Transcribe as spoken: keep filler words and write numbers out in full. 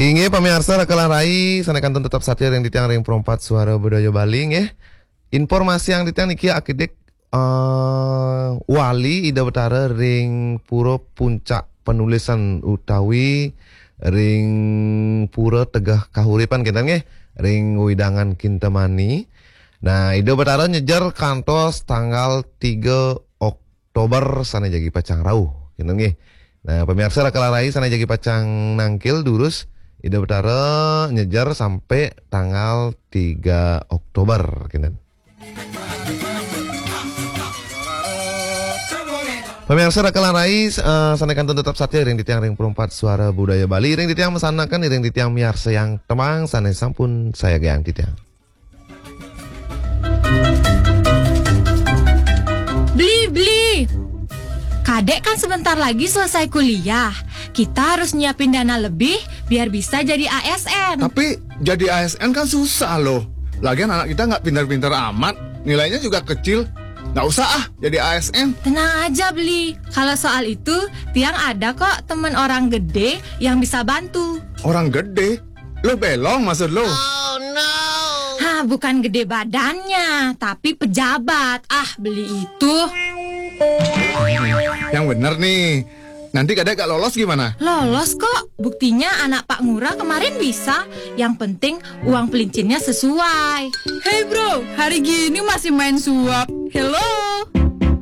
Inggih pamiarsa Raka lan Rai, sané kantun tetep satia ring titiang ring Perempat Suara Budaya Bali nggih. Informasi yang titiang niki akidik eh, wali Ida Betara ring Pura Puncak Penulisan utawi ring Pura Tegeh Kahuripan kinten nggih, ring wewidangan Kintamani. Nah, Ida Betara nyejer kantos tanggal tiga Oktober sané jagi pacang rauh kinten nggih. Nah, pamiarsa Raka lan Rai sané jagi pacang nangkil durus, Ida Betara nyejer sampai tanggal tiga Oktober kinten. Pamiarsa Raka lan Rai, eh, sané kantun tetep satia ring titiang ring Perempat Suara Budaya Bali, ring titiang masanakan ring titiang miarsa yang temang sané sampun sayagayang titiang. Beli, beli. Kadek kan sebentar lagi selesai kuliah. Kita harus nyiapin dana lebih biar bisa jadi A S N. Tapi jadi A S N kan susah loh. Lagian anak kita nggak pintar-pintar amat, nilainya juga kecil. Nggak usah ah jadi A S N. Tenang aja, Beli. Kalau soal itu, Tiang ada kok temen orang gede yang bisa bantu. Orang gede? Lo belong maksud lo? Hah, bukan gede badannya, tapi pejabat. Ah, Beli itu. Yang bener nih. Nanti kadek gak lolos gimana? Lolos kok. Buktinya anak Pak Ngurah kemarin bisa. Yang penting uang pelincinnya sesuai. Hey bro, hari gini masih main suap. Hello.